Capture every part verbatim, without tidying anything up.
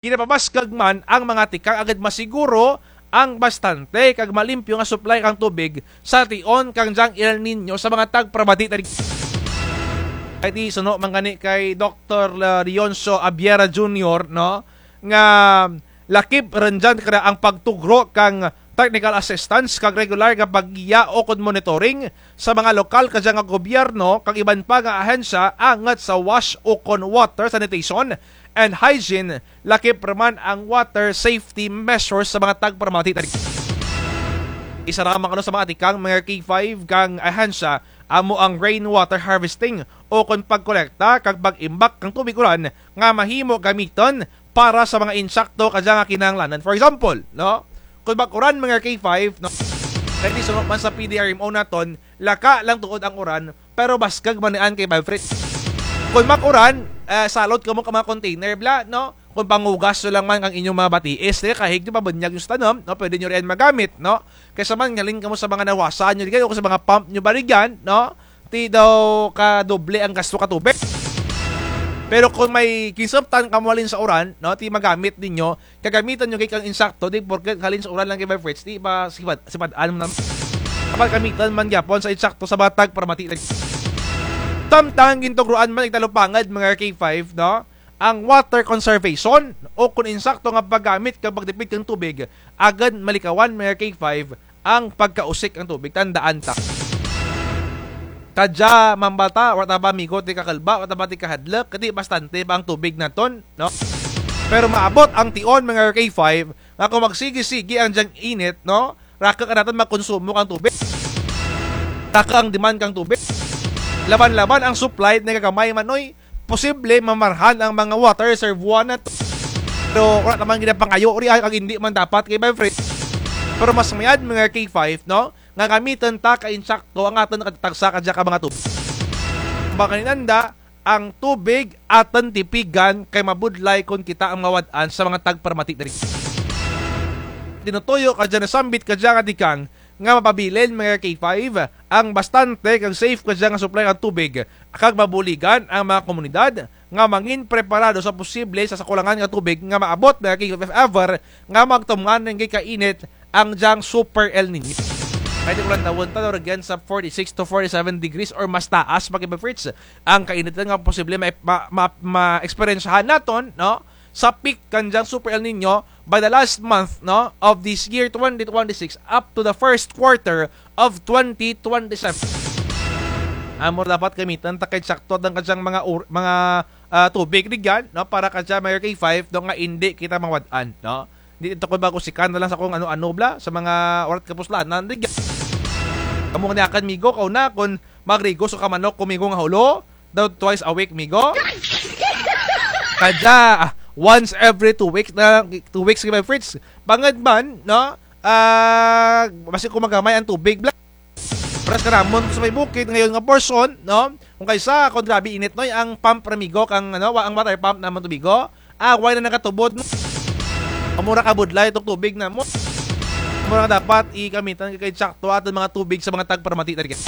Ginapabaskug man ang mga tikang agud masiguro ang bastante kag malimpyo nga supply kang tubig sa tion kang dyang El Niño sa mga tagparamati ta rugya. Kay ti suno man gani kay Doktor, ah, Leoncio Abiera Junior, no, nga lakip run dyan kara ang pagtugro kang technical assistance kag regular nga paggiya ukon monitoring sa mga lokal kadya nga gobyerno kag iban pa nga ahensya angut sa WASH ukon water sanitation and hygiene, lakip ra man ang water safety measures sa mga tagparamati ta rugya. Isara man kuno sa mga tikang mga K five kang ahensya amo ang rainwater harvesting ukon pagkolekta kag pag-imbak kang tubig uran nga mahimo gamiton para sa mga insakto kadya nga kinahanglanan. For example, no? Kon mag-uran mga K five, no? Kay ti suno man sa P D R M O naton, laka lang tuod ang uran, pero baskug man dyan kay Vibe Fritz. Kon mag-uran, eh, salot kamo ka mga container, bla, no? Kon panghugas nyo lang man ang inyong mga batiis, eh, kahig nyo pabunyag nyo sa tanom, no? Pwede nyo riyan magamit, no? Kaysa man, halin kamo sa mga nawasa nyo, di kayo, sa mga pump nyo ba rugyan, no? Ti daw kadoble ang gasto ka tubig. Pero kon may kinsaptan kamo halin sa uran, no? Ti magamit ninyo, kagamitan nyo gid kang insakto, di porket halin sa uran lang kay Vibe Fritz, ti ba sipad, sipad-an man. Dapat gamitan man gyapon sa insakto sa mga tagparamati. Samtang gintugruan man ning talupangud, mga K five, no? Ang water conservation, ukon insakto nga paggamit kag pagtipid kang tubig, agud malikawan, mga K five, ang pagkausik kang tubig. Tandaan ta. Kadya, mambata, wara ta ba, amigo, ti kakalba, wara ta ba ti kahadluk, kay ti bastante pa ang tubig naton, no? Pero maabot ang tion, mga K five, nga kon magsigi-sigi ang dyang init, no? Raku ka naton magkonsumo kang tubig. Raku ang demand kang tubig. Laban-laban ang supply, nagagamay man, oy. Posible mamarhan ang mga water reservoir naton. Pero wara ta man ginapangayo riyan kag indi man dapat kay Vibe Fritz. Pero mas mayad mga K five, no? Nga gamiton ta ka insakto ang atun katagsa kadya ka mga tubig. Baka ninanda, ang tubig atun tipigan kay mabudlay kon kita ang mawad-an sa mga tagparamati diri. Tinutuyo kadya, nasambit kadya nga tikang nga mapabilin mga K five ang bastante kag safe kadya nga supply kang tubig kag mabuligan ang mga komunidad nga mangin preparado sa posible sa sakulangan nga tubig nga maabot mga K five if ever nga magtumngan ning kainit ang dyang Super El Niño. Kay ti ko lantawun ta, rugyan sa forty-six to forty-seven degrees or mas taas pa kay Vibe Fritz ang kainit nga posible ma-, ma-, ma-, ma-eksperyensyahan naton, no? Sa peak kang dyang Super El Niño by the last month, no, of this year twenty twenty-six up to the first quarter of twenty twenty-seven. Amo ra dapat gamiton ta kay sakto ang kadyang mga ur-, mga, ah, tubig rugyan, no, para kadya mga K five, no, nga indi kita mawad-an, no? Di ito ko bago sikan na lang sa kung ano-ano bla, sa mga urat kapuslanan, di ga-, kamo nga niyakan, migo, kauna, kon magrigos ka manok, kumigo nga hulo, daw twice a week, migo. Kadya, ah, once every two weeks na, two weeks, kay Vibe Fritz. Bangud man, no? Ah, basi kung magamay ang tubig, bla. Paras kanamon sa may bukid, ngayon nga portion, no? Kung kaysa, kung grabe init, no? Ang pump, ra migo, kang, ano, wa-, ang water pump naman tubigo. Ah, wala na nakatubod, no? Amo ra kabudlay itong tubig namon. Amo ra dapat igamitan kay sakto atun mga tubig sa mga tagparamati ta rugya.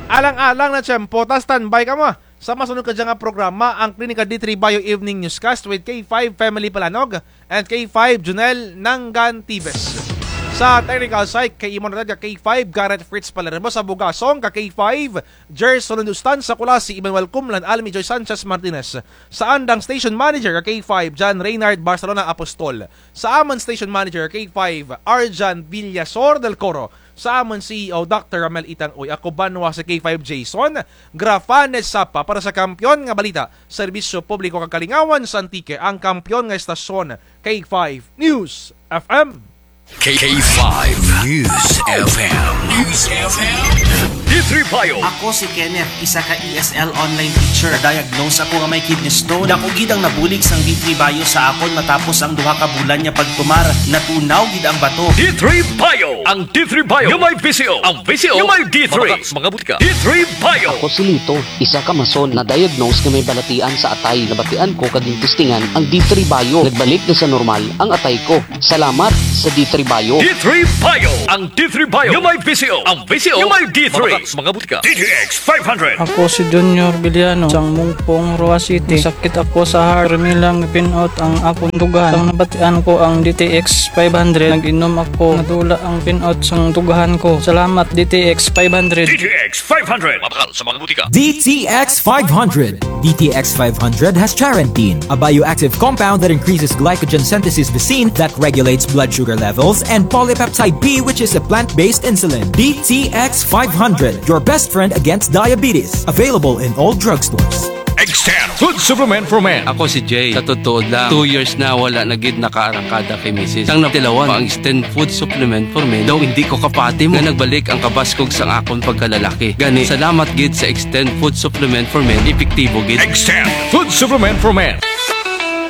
Alang-alang na tiyempo, ta standby kamo. Sa masunod kadya nga programa, ang Klinika D three Bio Evening Newscast with K five Family Palanog and K five Junel Nangantibes. Sa technical side, kay imo natad ka K five Garrett Fritz Palermo, sa bugasong ka K five Gerson Lustan, sa Kulasi Emmanuel Kumlan, Almi Joy Sanchez Martinez. Sa andang station manager ka K five John Reynard Barcelona Apostol. Sa amun station manager ka K five Arjan Villasor del Coro. Sa amun C E O Doctor Ramel Itang Uy. Ako banwa si K five Jason Grafanes Sapa para sa Kampiyon nga Balita, Serbisyo Publiko kag Kalingawan sa Antique, ang kampiyon nga estasyon, K five News F M. K five News F M. News F M. D three Bio. Ako si Kenneth, isa ka E S L online teacher. Na-diagnose ako nga may kidney stone. Dako gid ang nabulig sang D three Bio sa akon matapos ang duha ka bulan nga pagtumar. Natunaw gid ang bato. D three Bio. Ang D three Bio nga may V C O. Ang V C O nga may D three. Mga, mga butika. D three Bio. Ako si Lito, isa ka mason, na-diagnose nga may balatian sa atay. Nabatian ko kag gintestingan ang D three Bio. Nagbalik na sa normal ang atay ko. Salamat, Sa D three Bio. D three Bio. Ang D three Bio nga may V C O. Ang V C O nga may D three. Mabakal sa mga butika. D T X five hundred. Ako si Junior Villano, sang Mungpong, Roxas City. Sakit ako sa heart. Pirmi lang pin-out ang akon dughan. Sang nabatian ko ang D T X five hundred, nag-inom ako. Nadula ang pin-out sang dughan ko. Salamat, D T X five hundred. D T X five hundred. Mabakal sa mga butika. D T X five hundred. D T X five hundred has charantine, a bioactive compound that increases glycogen synthesis vacin that regulates blood sugar levels, and polypeptide P, which is a plant-based insulin. D T X five hundred, your best friend against diabetes. Available in all drugstores. Extend Food Supplement for Men. Ako si Jay. Sa totoo lang, two years na wala na gid nakaarangkada kay misis. Sang natilawan pa ang Extend Food Supplement for Men, daw indi ko kapati mo nga nagbalik ang kabaskog sang akon pagkalalaki. Gani, salamat gid sa Extend Food Supplement for Men, epektibo gid. Extend Food Supplement for Men.